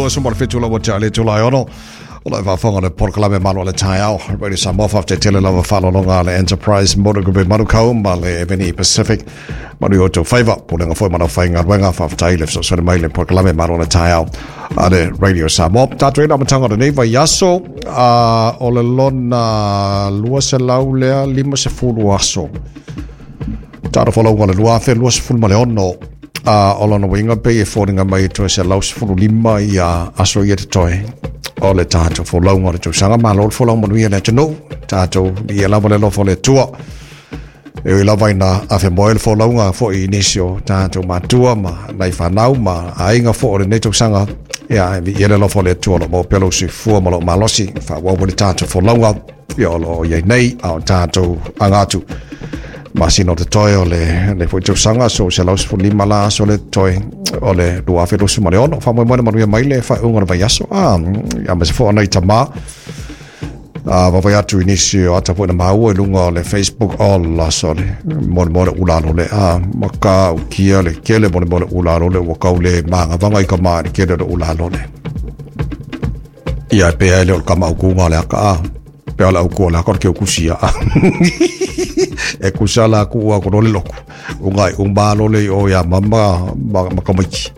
27 lava te ale tula ono. O le faafofoga le polokalame malo le taeao. Radio Samoa faafetai tele lava faalologa le Enterprise Motor Group e Manukau ma le Eveni Pacific. Manu i o tau faiva, pulega foi ma lau faigaluega, faafetai le fesoasoani mai le polokalame malo le taeao a le Radio Samoa. Tatou i le amataga o lenei vaiaso, o le lona 200 lea 50 aso. Taro folauga le 2026, o lona uiga pei e foliga mai e toe 115 ia aso ia totoe o le tatou folauga o le tausaga. Malo le folau manuia le atunuu, tatou ia lava le alofa o le Atua. E ui lava ina afe moe le folauga foi i nisi o tatou matua ma nai fanau ma aiga foi o lenei tausaga, ia e viia le alofa o le Atua o lo o maua pea lou soifua ma lou malosi, faaauau le tatou folauga ia o lo o i ai nei, a o tatou aga atu masina o totoe o le foi tausaga, so 115 la aso le totoe o le 2026. Faamoemoe na manuia mai le faaiuga o le vaiaso, ia ma se fua nai tamā, vavai atu i nisi o ata foi na maua i luga o le Facebook o la sole mo le mo le ula lole a maka ukia le kele mo le mo le ula lole ua kau le manga vanga i ka ma le kele le ula lole ia pe ai le o ka mau kunga le aka a pe ala uku la ko ke ukusia e kusala ku a ko lole loku ungai umba lole o ya mama makamiki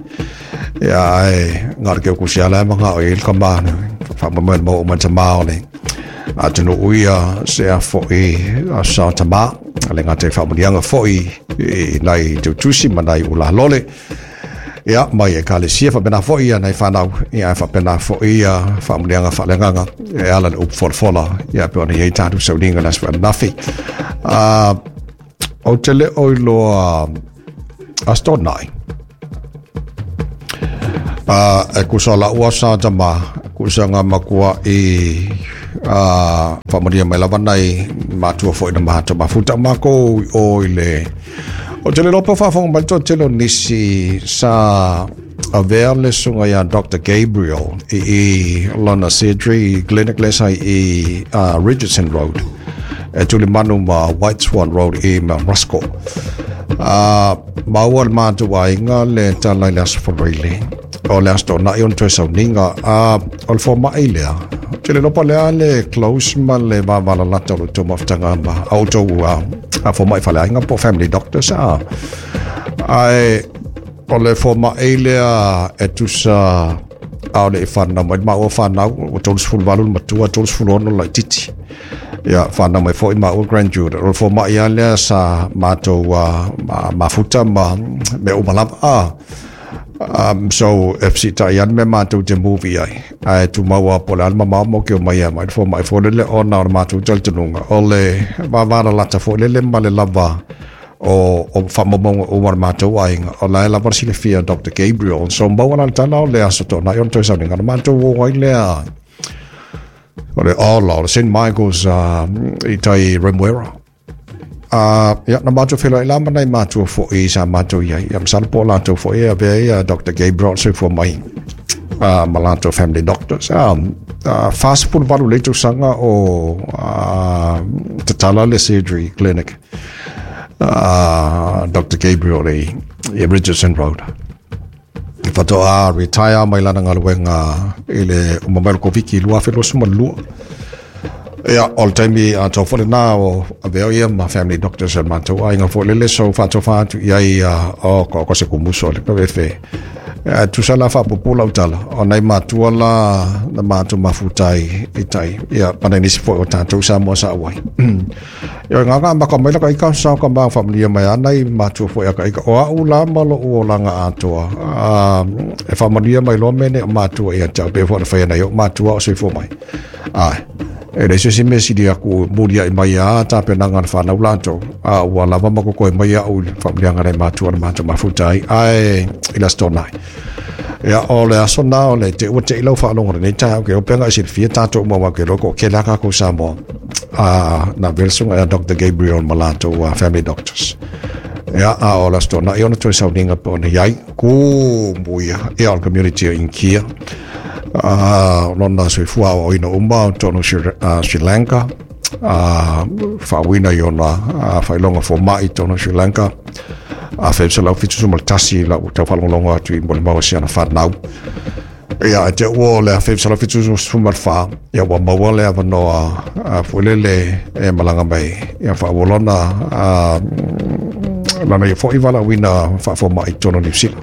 ia ai ngar ke ukusia la manga o il ka ma fa ma mo mo ma o le atunu uia se a fo'i a sa tama le ngā te whamunianga fo'i i nai tautusi ma nai ula lole ia mai e kalesia whapena fo'i ia nai whanau ia whapena fo'i ia whamunianga whalenganga e ala le upu folafola ia pe ona iei tātu sauninga las whanawhi o te le oi loa astonai e kusa la ua sa tama kusa ngā makua i whamaria mai lava nai matua foi na mahato mafuta mako o i le o te le lopa whawhonga mai tō telo nisi sa avea le sunga ia Dr. Gabriel i lona surgery clinic lesa i Richardson Road e tuli manu ma White Swan Road i Mount Roscoe. Maua le mātua inga le talai le aso whareile o le aso tōna i on toe sauninga o le fōmai lea te le lopa lea le close ma le vāvala lata o le tō mawhitanga ma au tō a fōmai whale ainga po family doctors ai o le fōmai lea e tusa a o le i whanau mai ma o whanau o 38 le matua 36 lai titi ia whanau mai foi ma o grandchildren o le fōmai a lea sa mātou mafuta ma me umalava so FC ta ian me mātou te movie ai ai tu maua po le alma mau ke o mai mai fo mai fo le ona o mātou taltonunga o le vavara lata fo le ma le lava o whamamonga o war mātou ai o la lava si le fia Dr. Gabriel so maua la tala o le aso tōna i on toi sauninga mātou o ai lea o le o le St. Michael's i tai Remuera. Ia na mātou whela i lama nei mātua fo i sa mātou ia. Ia masala po lātou fo i a vea ia Dr. Gabriel se fo mai ma lātou family doctors. Fast food valu le tausaga o tatala le surgery clinic. Dr. Gabriel i Richardson Road. Whatoa retire mai lana ngaluenga i le umamelo koviki 2022. Ia, o le taimi a tau fole nā o aveo ia ma family doctors a mātou ai ngā fole le so whātou whātu ia ia o ko se kumuso le kawefe. Tusala whapupula utala o nei mātua la na mātou mafutai i tai. Ia, pana nisi foi o tātou sa mua sa awai. Ia, ngā ngā maka mai laka ika sa ka mā familia mai anai mātua foi aka ika. O au la malo o langa atoa. E whamanuia mai loa mene o mātua ia tau pe fo na whai anai o mātua o soifua mai. Ai. E le se me siri aku muria i mai a tā pe nanga na whanau lātou. A ua lava mako koe mai au i whamulianga nei mātua na mātua mafuta ai. Ai, i la stonai. Ia, o le aso nā o le te ua te ilau whaalongo nei tā ke o penga i silfia tātou maua ke loko ke laka ko Samoa. Na velsunga ia Dr. Gabriel Malato family doctors. Ia, a o la stonai ona toi sauninga po na iai ku muia ia o community in Kia. Lona soifua o ina uma tono Sri Lanka whaawina i ona whailonga fo mai tono Sri Lanka a whemsa lau fitu sumal tasi lau tau whalongalonga atu i mole maua si ana whanau. Ia, e te ua o le 1974, ia ua maua le avanoa foi lele e malaga mai, ia faaauau lona lana ia foi valaauina faafomai i totonu o Niu Sila.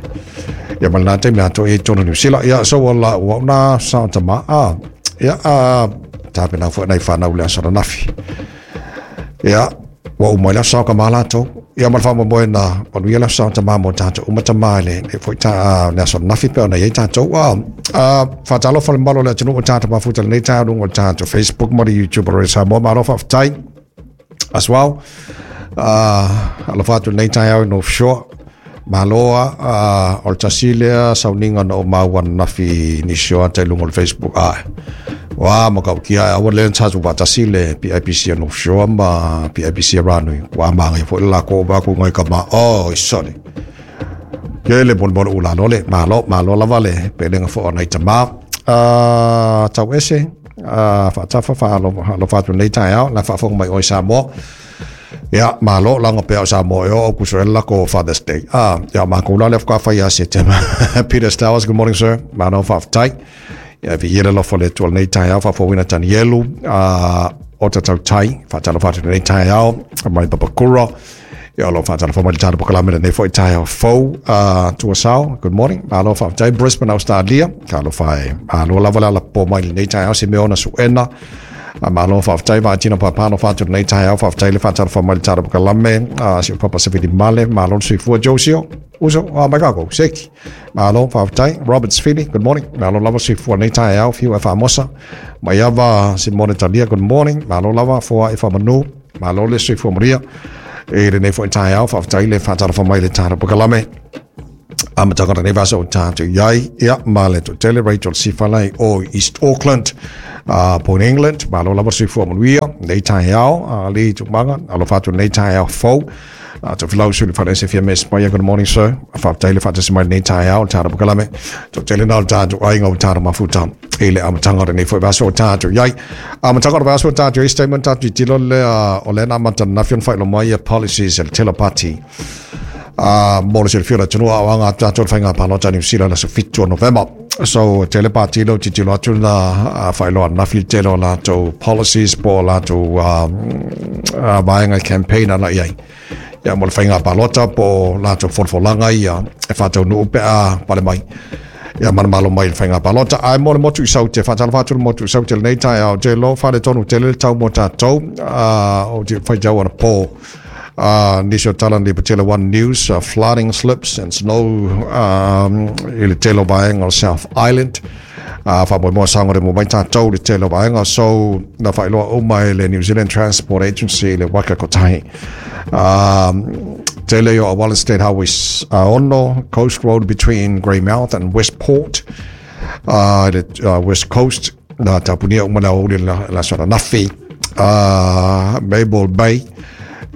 Ia ma lena taimi atoa i totonu o Niu Sila. Ia, so ua ua na sao tama a ia a tapena foi nai whanau le aso ananafi. Ia, ua uma i le aso ka malatou. Ia ma le faamoemoe na manuia le aso tama mo tatou uma tama i le foi ta le aso ananafi pe ona i ai tatou. Faatalofa le mamalu o le atunuu o tatou mafuta i lenei taeao i luga o le tatou Facebook ma le YouTube o Radio Samoa. Malo faafetai as well. Alofa atu lenei taeao i North Shore. Malo a o le tasi lea sauniga na o maua ananafi nisi o ata i luga o le Facebook. Ai. Wa matautia aua le tatou faatasi le PIPC a North Shore ma PIPC a Ranui. Wa maga foi le lako ba ku ngai ka ma. Oh, sorry. Ke le bon bon ula lo le malo malo lava le pelenga fo ona i tama. Tau ese faatafa faalofa atu nei taeao la faafofoga mai oe Samoa. Ia, malo laga pea o Samoa e o au kuso e lako Father's Day. Ia, makou la le faatoa fai ia Setema. Peter Stowers, good morning, sir. Malo faafetai. Ia, viia le alofa o le Atua i lenei taeao, faafouina Tanielu, o tatau tai, faatalofa atu lenei taeao, mai Papakura. Ia, o lo o faatalofa mai le tatou polokalame lenei foi taeao fou, Tuasao, good morning. Malo faafetai, Brisbane, Australia. Talofa e, malo lava le alapopo mai lenei taeao, Simeona Suena. Malo faafetai Vaatino Papa alofa atu lenei taeao, faafetai le faatalofa mai le tatou polokalame, si o Papa Sevili Male, malo le soifua Josio. Uso, mai kākou, Seki. Malo, faafetai. Robert Sfili, good morning. Malo lava soifua lenei taeao, fiu e faamosa. Mai ava Simone Talia, good morning. Malo lava, foa e faamanu. Malo le soifua maria. E lenei foi taeao, faafetai le faatalofa mai le tatou polokalame. Amataga o lenei vaiaso o tatou i ai, ia, ma le toatele Rachel Sifalai o East Auckland, Point England. Malo lava soifua manuia lenei taeao, le tumaga, alofa atu lenei taeao fou. Tofilau Suli Faleese Fia Mes Maia, good morning, sir. Faafetai le faatasi mai lenei taeao le tatou polokalame. Toatele na o le tatou aiga o tatou mafuta i le amataga o lenei foi vaiaso o tatou i ai. Amataga o le vaiaso o tatou i ai, statement tatou tilotilo lea o lea na amata ananafi ona faailoa mai ia policies a le tele o pati. Mo le silafia o le atunuu a o aga atu tatou i le faiga palota a Niu Sila i le aso 7 o Novema. So, tele pati lea o tilotilo atu na faailoa ananafi le tele o latou policies po o latou vaega campaign ana i ai. Ia, mo le faiga palota po o latou folafolaga ia e faataunuu pe a pale mai. Ia manumalo mai i le faiga palota. Ae mo le motu i Saute, faatalofa atu le motu i Saute lenei taeao. Te iloa faaletonu tele le tau mo tatou, o te faitau anapo. Nisi o tala ni patele One News, flooding slips and snow i le tele o vaega o South Island. Faamoemoe saogalemu mai tatou i le tele o vaega. So, na faailoa uma e le New Zealand Transport Agency i le Waka Kotahi. Tele o auala State Highway 6, Coast Road between Greymouth and Westport, le West Coast, na tapunia uma le aoauli o le aso ananafi. Mabel Bay,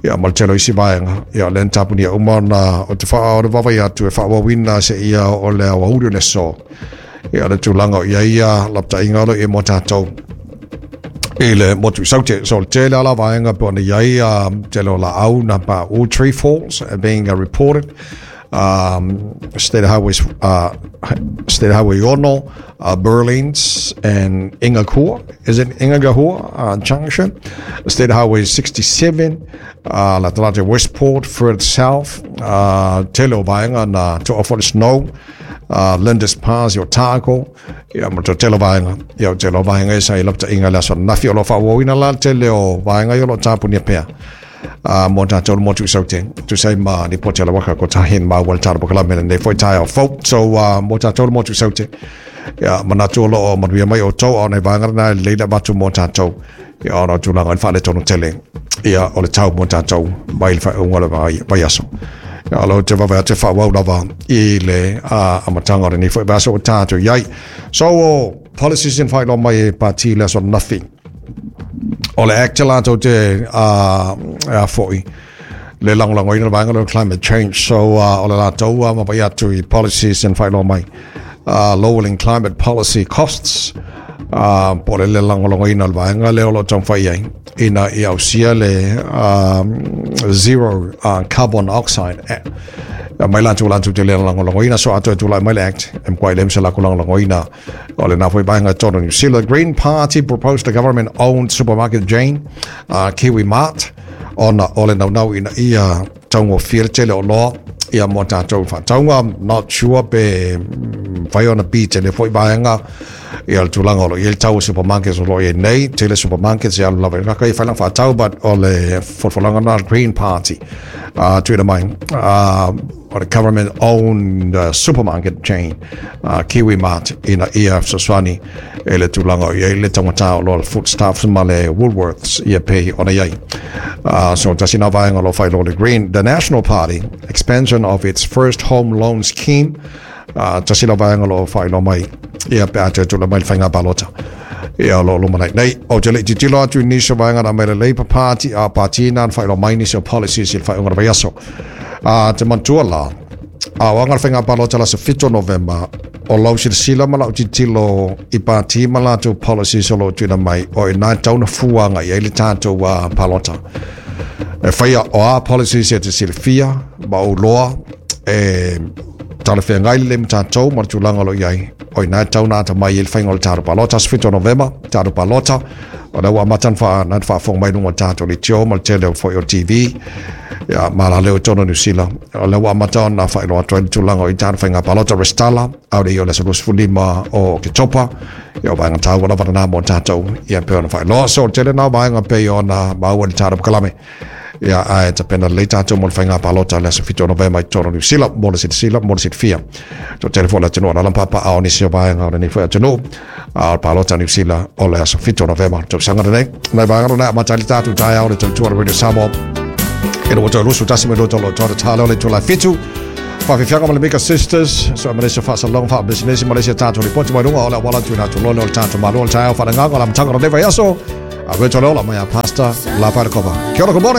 ia ma le tele o isi vaega, ia lea na tapunia uma ona o te wha, o le vaavaai atu e faaauauina seia oo le aoauli o le aso. Ia le tulaga o i ai ia lapataiga o lo o i ai mo tatou i le motu i Saute. So le tele ala vaega pe ona i ai tele o laau na pa all tree falls are being reported. State Highways, State Highway 6, Burlings and Ingakua. Is it Ingagahua Junction? State Highway 67, la talata Westport, further south, tele o vaega na toa for the snow, Lindis Pass i Otago, ia ma te tele o vaega, ia o tele o vaega e sa i lapataiga i le aso ananafi o lo o faaauauina la le tele o vaega ia o lo o tapunia pea. Mo tatou le motu i Saute, tusa ai ma lipoti a le Waka Kotahi maua i le tatou polokalame lenei foi taeao fou. So, mo tatou le motu i Saute, ia, manatu o lo o manuia mai outou, a o nai vaega lena e lelei le avatu mo tatou, ia, ona o tulaga i le faaletonu tele, ia, o le tau mo tatou mai le faaiuga o le vaiaso. Ia, o lo o te vave atu e faaauau lava i le amataga o lenei foi vaiaso ua tatou i ai. So, o policies in faailoa mai e pati i le aso ananafi. O le Act latou te a foi le lagolagoina le vaega lea o climate change. So o le latou vaavaai atu i policies na faailoa mai. Lowering climate policy costs po o le le lagolagoina o le vaega lea o lo o taumafai i ai ina ia ausia le zero carbon oxide. Ia mai latou latou te le lagolagoina so atoa e tulai mai le Act e matua le se latou lagolagoina o lena foi vaega i totonu o Niu Sila. Green Party proposed a government owned supermarket chain, Kiwi Mart, ona o le naunau ina ia taugofie le tele o oloa ia mo tatou faatauga. Not sure pe mafai ona beat e lea foi vaega ia le tulaga o lo o i ai le tau o supermarkets o lo o i ai nei. Tele supermarkets e alu lava i luga i fai faatau, but o le folafolaga na Green Party tuuina mai o le government owned supermarket chain, Kiwi Mart, ina ia fesoasoani e le tulaga o i ai le taugata o loa foodstuffs ma le Woolworths ia pei ona i ai. So tasi na vaega o lo o faailoa le Green. The National Party, expansion of its first home loan scheme, tasi la vaega o lo o faailoa mai ia pe a toe tula mai le faiga palota ia o lo o lumanai nei. Ou te le i tilotilo atu i nisi o vaega na mai le Labour Party a pati na faailoa mai nisi o policies i le faaiuga o le vaiaso. Te manatua la, a o aga le faiga palota le aso 7 o Novema, o lau silasila ma lau tilotilo i pati ma latou policies o lo o tuuina mai, o i ina e tatau ona fua agai ai le tatou palota. E faia o a policies e te silafia ma ou loa e talafeagai lelei ma tatou ma le tulaga o lo o i ai, o i ina e tatau ona atamai ai le faiga o le tatou palota. Aso 7 o Novema, tatou palota, o lea ua amata ona faafofoga mai i luga o le tatou leitio ma le tele o foi o TV, ia, ma la leo i totonu o Niu Sila. O lea ua amata ona faailoa atu ai le tulaga o i tatou faiga palota resitala, a o le i o le aso 25 o Oketopa, ia o vaega taua lava lena mo tatou, ia pei ona faailoa. So, o le tele na o vaega pei ona maua i le tatou polokalame. Ia, ae tapena lelei tatou mo le faiga palota le aso 7 o Novema i totonu o Niu Sila, mo le silasila, mo le silafia. So, tele foi le atunuu o lala papaao o nisi o vaega o lenei foi atunuu. A o le palota Niu Sila o le aso 7 o Novema tausaga lenei. Nai vaega lona amata ai le tatou taeao le tautua o le Radio Samoa. E lua toe lusu tasi me lua tolo toa talo le itula 7. Whawhiwhianga ma le Mika Sisters, so Malaysia whasalonga wha business Malaysia tātou ripoti mai runga o le awala tu nā tūlole o le tātou malo o le taeao whananganga o la matanga o le vaiaso. A Virtual Ola mai a Pastor La Wharekopa. Kia ora, good morning.